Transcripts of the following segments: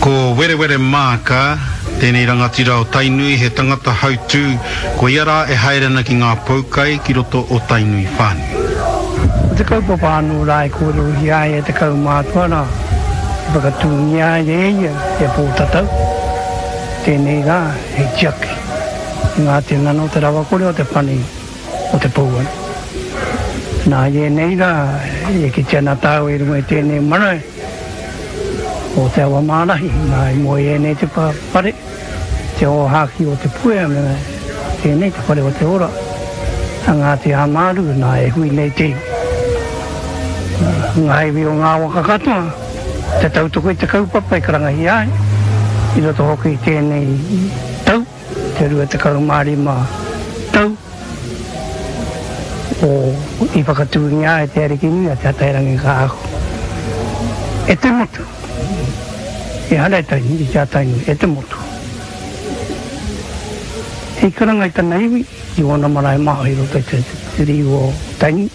Ko Werewere Maaka tēnei rangatira o Tainui, he tangata hautū, ko ia rā e haere ana ki ngā poukai ki roto o Tainui whānui. Ko te kaupapa anō rā e kōrerohia ai e te kaumātua rā, i whakatūngia ai e ia e Pōtatau tēnei rā hei tiaki i ngā tinana o te rawakore o te pani o te pouaru. Nā, i ēnei rā, e kite ana tāua i runga i tēnei marae o Te Awamārahi, nā, i moe ēnei te whare, te ōhākī o Te Puea me tēnei te whare o te ora a Ngāti Āmāru, nā, e hui nei te iwi, ngā iwi o ngā waka katoa, te tautoko i te kaupapa i karangahia ai, i roto hoki i tēnei tau. Te 25 tau o i whakatūngia ai Te Arikinui a Te Atairangikaahu e te motu. Ehara i Tainui, i a Tainui, e te motu. Hei karanga i tana iwi, i ōna marae maha i roto i te riu o Tainui.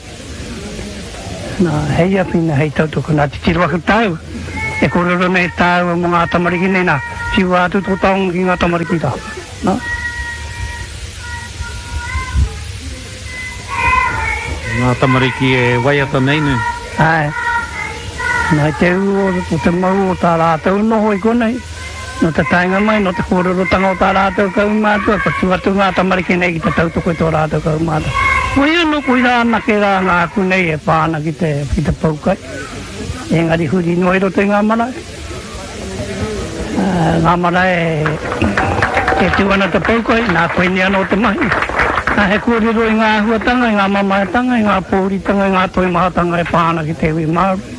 Nā, hei awhina, hei tautoko, nā, titiro ake tāua, e kōrero nei tāua mō ngā tamariki nei, nā, whiua atu tō taonga ki ngā tamariki rā, nā. Ngā tamariki e waiata nei, nē? Āe. Nā, i te ū o te mau o tā rātou noho i konei, Nō te taenga mai, nō te kōrerotanga o tā rātou kaumātua, kua tū atu ngā tamariki nei ki te tautoko i tō rātou kaumātua. Koia anō, koirā anake rā ngā aku nei e pā ana ki te, ki te poukai. Engari huri noa i roto i ngā marae. Ngā marae e tū ana te poukai, nā koinei anō te mahi. Nā, he kōrero i ngā āhuatanga, i ngā mamaetanga, i ngā pōuritanga, i ngā toimahatanga e pā ana ki te iwi Māori.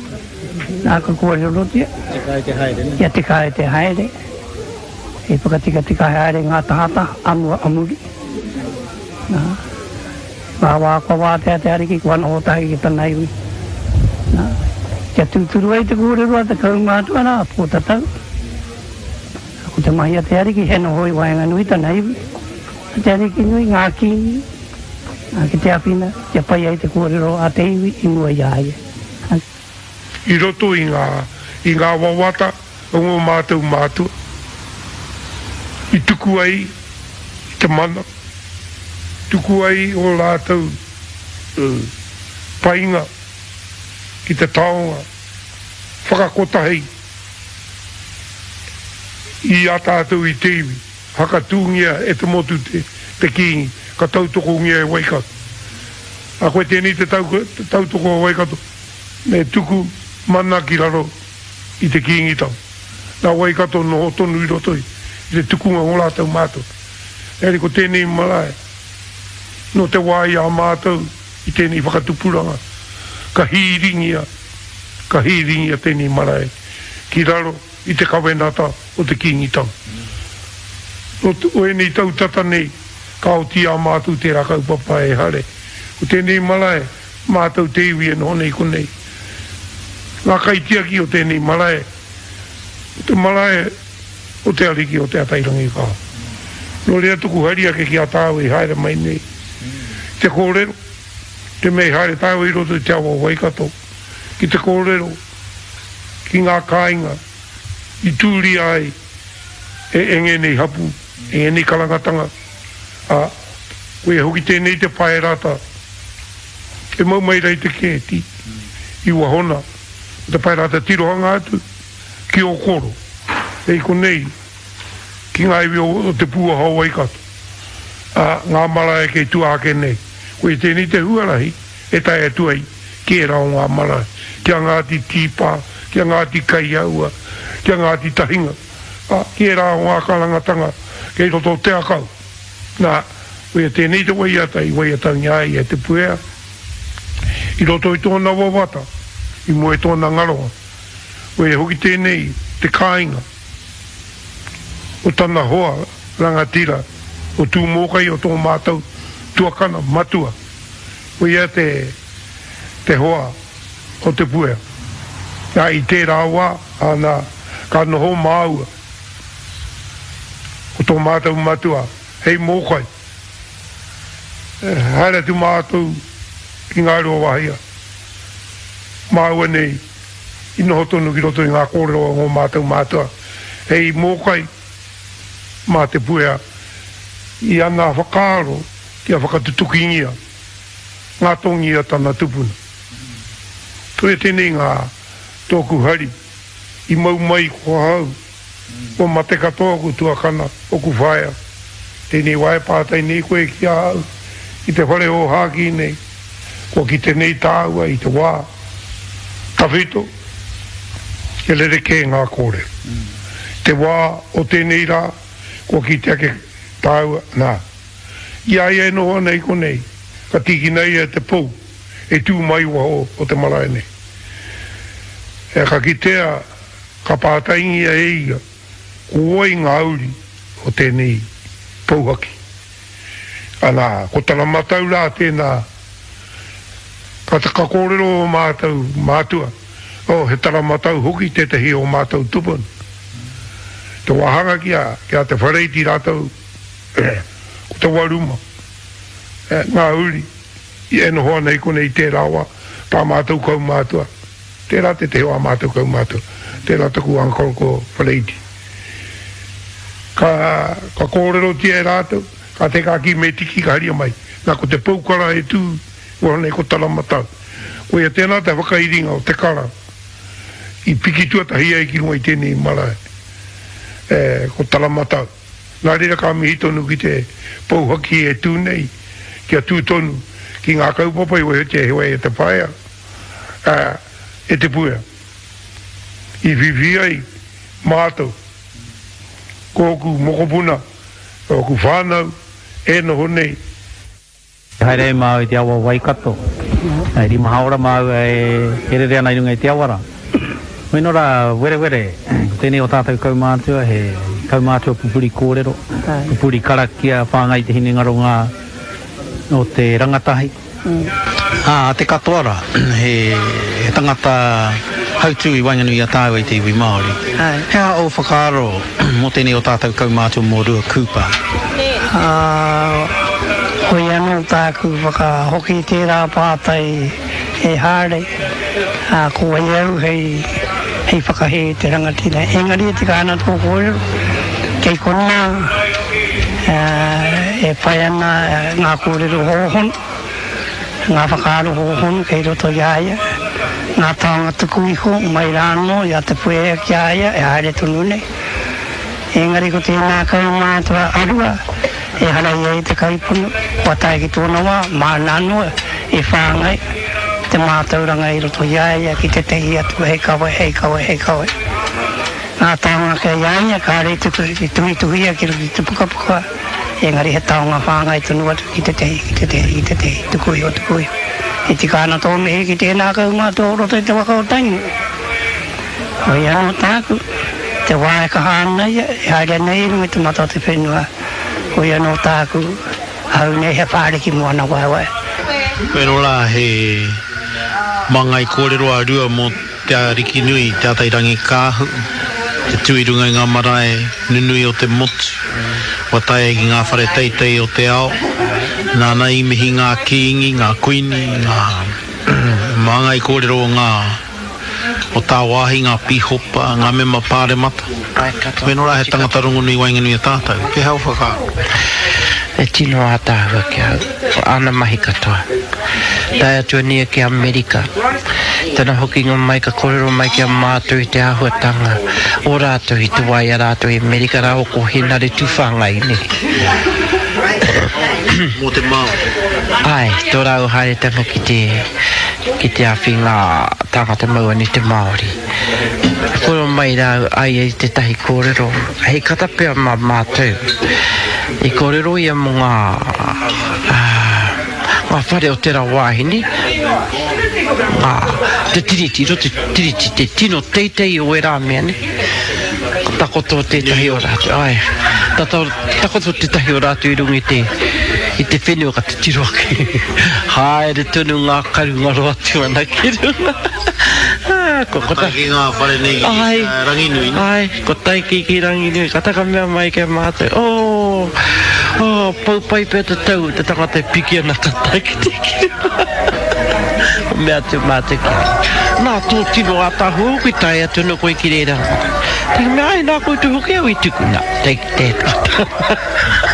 Nā ka kōrerotia. Tika ai te haere, nē? Kia tika ai te haere, hei whakatikatika haere ngā tahataha a mua a muri. Nā, ngā wā kua wātea te Ariki kua noho tahi ki tana iwi. Nā, kia tūturu ai te kōrero a te kaumātua rā, Pōtatau. Ko te mahi a te Ariki he noho i waenganui tana iwi. A te Ariki nui, ngā kīngi, nā, ki te awhina, kia pai ai te kōrero a te iwi i mua i a ia. I roto i ngā, i ngā wawata o ngō mātou mātua, i tuku ai i te mana, tuku ai ō rātou painga ki te taonga whakakotahi i a tātou i te iwi. Whakatūngia e te motu te Kīngi, ka tautokongia e Waikato. A koe tēnei te tautoko a Waikato, me tuku mana ki raro i te Kīngitanga. Nā Waikato noho tonu i roto i te tukunga o rātou mātou. Engari ko tēnei marae, nō te wā i a mātou i tēnei whakatupuranga, ka hīringia, ka hīringia tēnei marae ki raro i te kawenata o te Kīngitanga. Nō ēnei tau tata nei, ka oti i a mātou tērā kaupapa e hare. Ko tēnei marae, mātou te iwi e noho nei konei. Ngā kaitiaki o tēnei marae, ko te marae o te Ariki o Te Atairangikaahu. Nō reira tuku hari ake ki a tāua i haere mai nei te kōrero, te mea i haere tāua i roto i te awa o Waikato ki te kōrero ki ngā kāinga i tūria ai e ēnei hapū, e ēnei karangatanga, ā, koia hoki tēnei te paerata e mau mai rā i te kēti i wahona, ko te paerata tirohanga atu ki Ōkoro, hei konei ki ngā iwi o Te Pūaha o Waikato, ā, ngā marae kei tua ake nei. Koia tēnei te huarahi e tae atu ai ki ērā o ngā marae, ki a Ngāti Tīpā, ki a Ngāti Kaiaua, ki a Ngāti Tahinga, ā, ki ērā o ngā karangatanga kei roto o Te Akau. Nā, koia tēnei te waiata i waiatangia ai e Te Puea i roto i tōna wawata, i mua i tōna ngaronga. Koia hoki tēnei te kāinga o tana hoa rangatira o Tūmōkai o tō mātou tuakana matua. Koia te te hoa o Te Puea. Nā, i tērā wā, ana, ka noho māua ko tō mātou matua hei mōkai. Haere atu mātou ki Ngāruawāhia, māua nei i noho tonu ki roto i ngā kōrero a ngō mātou mātua. Hei mōkai mā Te Puea i ana whakaaro kia whakatutukingia ngā tongi a tana tupuna. Koia tēnei ngā tōku hari i mau mai ko ahau, kua mate katoa oku tuakana, oku whaea. Tēnei wā e pātai nei koe ki a au i te whare ōhākī nei, kua kite nei tāua i te wā tawhito, he rerekē ngā kōrero. Te wā o tēnei rā, kua kite ake tāua, nā, i a ia e noho ana i konei, ka tīkina ia e te pou e tū mai waho o te marae nei. E ka kitea, ka pātaingia e ia, ko wai ngā uri o tēnei pouhaki. Ana, ko tana matau rā tēnā, ka, ka kōrero ō mātou mātua, oh, he tara matau hoki tētehi o mātou tupuna. Te wāhanga ki a, ki a Te Whareiti rātou, ko Te Waruma, ngā uri e noho ana i konei i tērā wā, tā mātou kaumātua, tērā tētehi o ā mātou kaumātua, tērā taku uncle ko Whareiti. Ka, ka kōrerotia e rātou, ka te ka kī me tiki ka haria mai. Nā, ko te pou kara e tū waho nei ko Taramatau. Koia tēnā te whakairinga o te kara i piki tuatahi ai ki runga i tēnei marae, e, ko Taramatau. Nā reira ka mihi tonu ki te pou haki e tū nei, kia tū tonu ki ngā kaupapa i wehetia he wai e te whaea, ā, e Te Puea. I whiwhi ai mātou, ko ōku mokopuna, ōku whānau e noho nei. Haere ai māua i te awa o Waikato. E rima haora māua e rere ana i runga i te awa rā. Weno rā, werewere, ko tēnei o tātou kaumātua, he kaumātua pupuri kōrero, pupuri karakia, whāngai i te hinengaro ngā o te rangatahi. Ā, te katoa rā, he tangata hautū i waenganui i a tāua i te iwi Māori. He aha ō whakaaro mō tēnei o tātou kaumātua mō Rua Cooper? Ā, koia anō tāku whakahoki i tērā pātai e Haare, ā, ko wai au hei, hei whakahē i te rangatira. Engari e tika ana tō kōrero, kei konā, ā, e whai ana ngā kōrero hōhonu. Ngā whakaaro hōhonu kei roto i a ia, ngā taonga tuku iho mai rā anō i a Te Puea ki a ia e haere tonu nei. Engari ko tēnā kaumātua a Rua, ehara ia i te kaiponu, kua tae ki tōna wā, māna anō e whāngai te mātauranga i roto i a ia ki tētehi atu hei kawe, hei kawe, hei kawe. Ngā taonga kei a ia kāre i tuku, i tuhituhia ki roto i te pukapuka. Engari he taonga whāngai tonu atu ki tētehi, ki tētehi, ki tētehi, tuku iho, tuku iho. E tika ana tō mihi ki tēnā kaumātua o roto i te waka o Tainui. Koia anō tāku, te wā e kaha ana ia, e haere ana ia i runga i te mata o te whenua, koia anō tāku, ahau nei he whāriki mō ana waewae. Wero rā he māngai kōrero a Rua mō Te Arikinui, Te Atairangikaahu, te tū i runga i ngā marae nunui o te motu, kua taea ki ngā whare teitei o te ao, nāna i mihi ngā kīngi, ngā kuini, ngā māngai kōrero o ngā o tāwāhi, ngā pīhopa, ngā mema pāremata. Weno rā he tangata rongonui waenganui a tātou. Pēhea ō whakaaro? E tino ātaahua ki ahau, āna mahi katoa. Tae atu ana ia ki Amerika. Tana hokinga mai ka korero mai ki a mātou i te āhuatanga o rātou i te wā i a rātou i Amerika rāua ko Henare Tuwhāngai nē. Mō te Māori. Āe, tō rāua haeretanga ki te, ki te awhi ngā tāngata mau ana i te Māori. Kōrero mai rāua a ia i tētahi kōrero hei kata pea mā mātou. I kōrero ia mō ngā, Ngā whare o tērā wāhine, ngā, te tiriti, roto te tiriti, te tino teitei o ērā mea, ne? Ka takoto tētahi o rātou, āe, tata, takoto tētahi o rātou i runga i te, i te whenua ka titiro ake, haere tonu ngā karu ngaro atu ana ki runga. Ko tae ki ngā whare nei ki Ranginui, ne? Āe. Ko Taiki ki Ranginui, ka taka mea mai ki a mātou, Oh, oh, pau pai pea te tau, te tangata e piki ana ka tae ki te kiri. Ka mea atu mātou ki a ia. Nā tō tino ātaahua hoki tae atu ana koe ki reira. Te mea, ai nā koutou hoki au i tuku, nā, take that.